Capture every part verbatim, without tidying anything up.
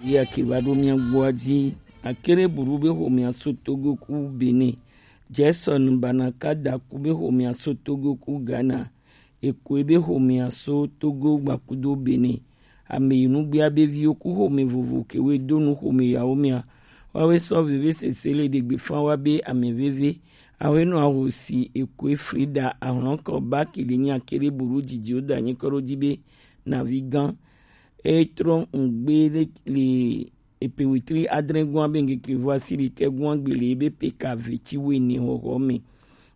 Yake va ɖo mia gbɔa dzi. Akere buru be xomea so Togo ku Benin. Jason Banakada ku be xomea so Togo ku Ghana. Ekoe be xomea so Togo gbakudo Benin. Ame yi nugbea be viwo ku xome vovo kewe do nu xome yawo mia. Wawe sɔ veve sese le ɖegbe fan wa be ame veve. Awe nɔ ahosi Ekoe Frida ahlɔnkɔ ba kele nya kele buru dzidziwo da nyi kɔ ɖo dzi be navi gan. E trɔ ŋgbe le, le epe wetri adre gɔn be ŋkeke vɔ asiri ke gɔn gbele be pe ka veti wene hoho me.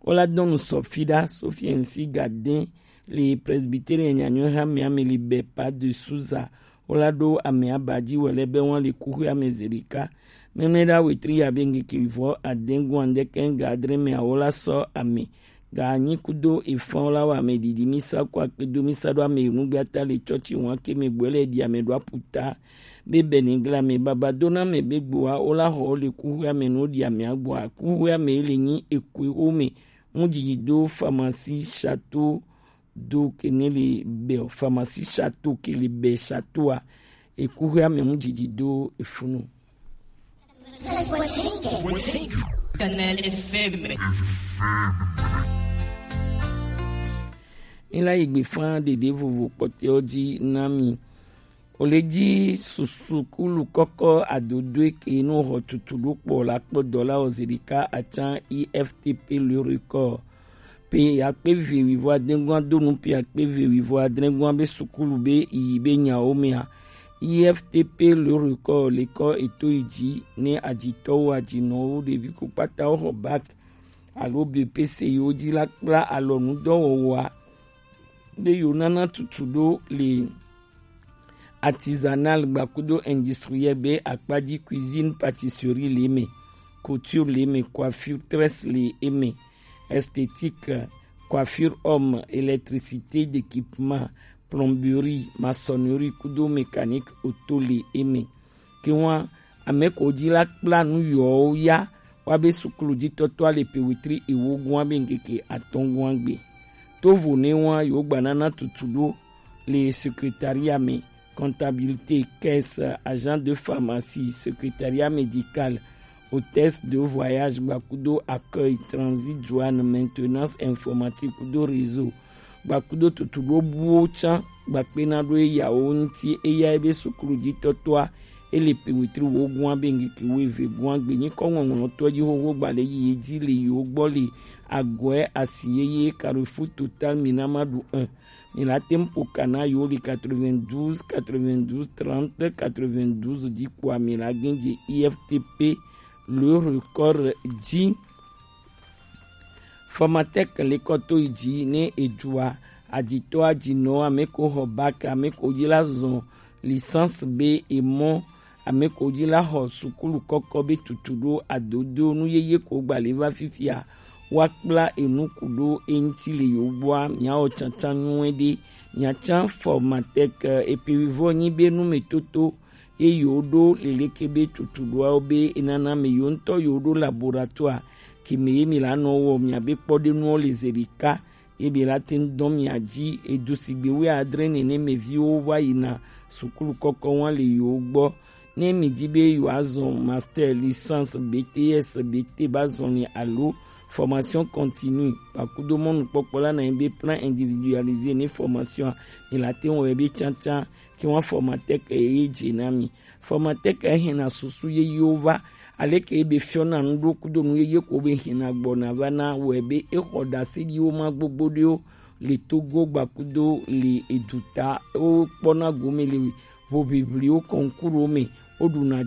Ola dɔnu sɔfida Sofiensi Gaden le Presbyterian nyanyo ha me ame le be pa de Suza. Ola do ame abaji wele be wan le kuhu ame zerika. Mene da wetri ya be ŋkeke vɔ aden gɔn de ke ŋga adre me awola sɔ ame. Ga anyi kudo efan la wa ame didi misa kwa kedo misa do ame nugbe ata le chɔchi wan ke me gbɔ le di ame do aputa. Be beni gla me baba dona me be gboa ola ho le kuhu ame no di ame agboa. Kuhu ame le nyi ekwe o me. Mu didi do pharmacie château do kene le be pharmacie château ke le be château a. Ekuhu ame mu didi do efunu. Kanal F M. Mi la yi gbe fan ɖeɖe vovo kpɔtɛwo dzi na mi. O le dzi sukulu kɔkɔ adodoe ke nu xɔ tutu ɖo kpɔ la kpɔ dɔ la o zirika atsan I F T P le record. Pe akpe ve wivɔ adengua do nu pe akpe ve wivɔ adengua be sukulu be yi be nyawo mea. I F T P le record le kɔ eto yi dzi ne adzitɔwo adzinɔwo ɖevi ko kpata wo xɔ bac alo B P C yiwo dzi la kpla alɔnudɔwɔwɔa be yewo nana tutu ɖo le artisanal gbakudo industriel be akpadzi cuisine, pâtisserie le eme, couture le eme, coiffure tresse le eme, esthétique, coiffure homme, électricité d'équipement, plomberie, maçonnerie kudo mécanique auto le eme. Ke wan ame ko dzi la kpla nu yɔwo ya wa be sukulu dzi tɔtɔ ale pe wetri ewo gua be ŋkeke atɔn gua gbe. To vo ne wan yo gba nana tutu ɖo le secrétariat me, comptabilité, caisse, agent de pharmacie, secrétariat médical, hôtesse de voyage gbakudo accueil, transit, douane, maintenance informatique kudo réseau gbakudo tutu ɖo buwo tsan gbakpe na ɖo eyawo ŋuti eya ebe sukulu dzi tɔtɔa. Ele pe wetri wo gua be ŋkeke wo eve gua gbe nyi kɔ ŋɔŋlɔtɔ dzi xoxo gba le yi dzi le yiwo gbɔ le agɔe asi yeye Carrefour Total Minamadu un. Mi la tem ƒo ka na yewo le quatre-vingt-douze, quatre-vingt-douze, trente, quatre-vingt-douze dzi kpoa mi la gɛn dze I F T P le record dzi. Formatec le kɔ to yi dzi ne edzua adzitɔ adzinɔ ame ko xɔ bac, ame ko dzi la zɔn licence be emɔ, ame ko dzi la xɔ sukulu kɔkɔ be tutu ɖo adodo nu yeye ko gba le va fifia. Wa kpla enu ku ɖo eŋuti le yewo gbɔa, miawɔ tsantsan nyuie ɖe. Miatsan Formatec epe wivɔ nyi be numetoto ye yewo ɖo leleke be tutu ɖoawo be enana me yewo ŋutɔ yewo ɖo laboratoire ke me ye mi la nɔ wɔ miabe kpɔɖenuwo le zeɖeka. Ye be la te ŋu dɔn mia dzi edu sigbe wuiadre nene me viwo va yina sukulu kɔkɔ wa le yewo gbɔ. Ne mi di be yewoazɔn master, licence, B T S, B T ba zɔn ni alo formation continue, gbakudo mɔnukpɔkpɔ la na nyi be plan individualisé ne formation a, mi la te ŋu wɔ ye be tsantsan ke wa Formatec ye dze na mi. Formatec hɛn na susu yeyewo va, aleke ye be fiɔ na nu ɖo kudo nu yeye ko be hɛn na gbɔ na va na wɔ ye be exɔ ɖase ɖi wo ma gbogbo ɖe wo le Togo gbakudo le eduta wo kpɔ na gome le voviviwo concours wo me wo ɖu na